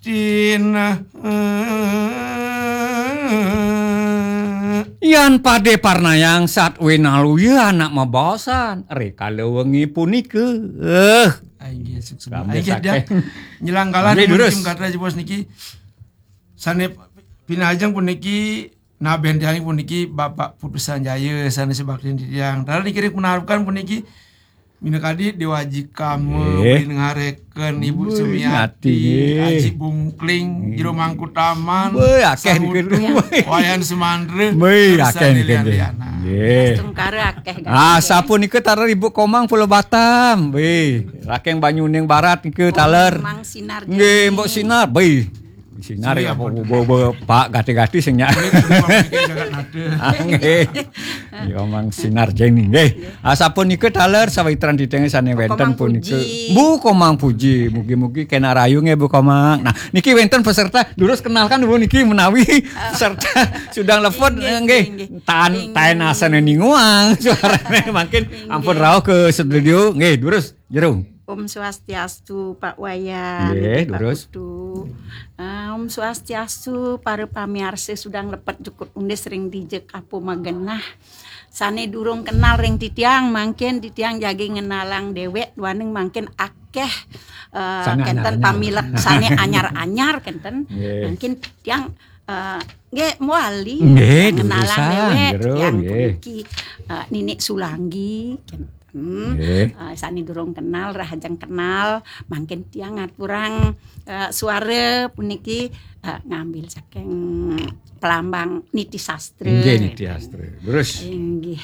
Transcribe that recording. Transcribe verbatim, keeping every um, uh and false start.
Cina. Yan pade parnayang sat winaluya anak mabaosan rikala wengi punika. Eh, Ayo, sukses. Kami Ayo, dia saking. Nyelang kalah Nggih, durus. Tim kata jebos niki. Sane pinajeng puniki naben tiang puniki Bapak Putusan Jaya sane sebakti tiang. Taler niki ring menarukan puniki minakadi Dewa Aji Kama, Nggih. Win ngareken Ibu Wih, Sumiati, ngati, nggih. Aji Bungkling, Nggih. Jero Mangku Taman, Wih, akeh Sangutu, niki. Wayan Semandra, Wih, terus akeh niki, Lian nggih. Liana. Nggih. Astungkara akeh, Ah, ganteng. Sapunika taler Ibu Komang Pulau Batam. Wih, rakeng Banyuning Barat nika taler. Komang Sinar Nggih, Jani. Mbok Sinar. Wih, Sinar Sinar ya, apa? Bo, bo, bo, Pak, gati-gati sing nyak. Nggih, Komang niki jagat nada. Ah, nggih. Ya, Mang Sinar Jani, nggih. Ah, sapunika taler sawitran titiang sane wenten Komang punika. Puji. Bu Komang Puji, mugi-mugi kena rayu nggih Bu Komang. Nah, niki wenten peserta, durus kenalkan dulu niki menawi peserta sudah lepet, Inggih, eh, nggih. Inggih. Tan, Inggih. Taen asane ninguang suarane mangkin Inggih. Ampun rauh ke studio. Nggih, durus, Jero. Om Swastiastu, Pak Wayan, Nggih, Pak durus. Putu. Ah, Om Swastiastu, para pamiarsa sudah lepet jukut undis ring dija kapo magenah. Sane durung kenal ring titiang, mangkin titiang jagi ngenalang dewek, duaning mangkin akeh, eh, Sane kenten anyar-anyar. Pamilek sane anyar-anyar kenten. Nggih. Mangkin tiang, eh, nggih mawali Nggih, ngenalang dudusan, dewek, jero, tiang nggih. Puniki, eh, Ninik Sulanggi, kenten. Nggih. Eh, sane durung kenal, rahajeng kenal, mangkin tiang ngaturang, eh, suara puniki, eh, ngambil saking pelambang Niti Sastra. Nggih, Niti Sastra. Terus? Inggih.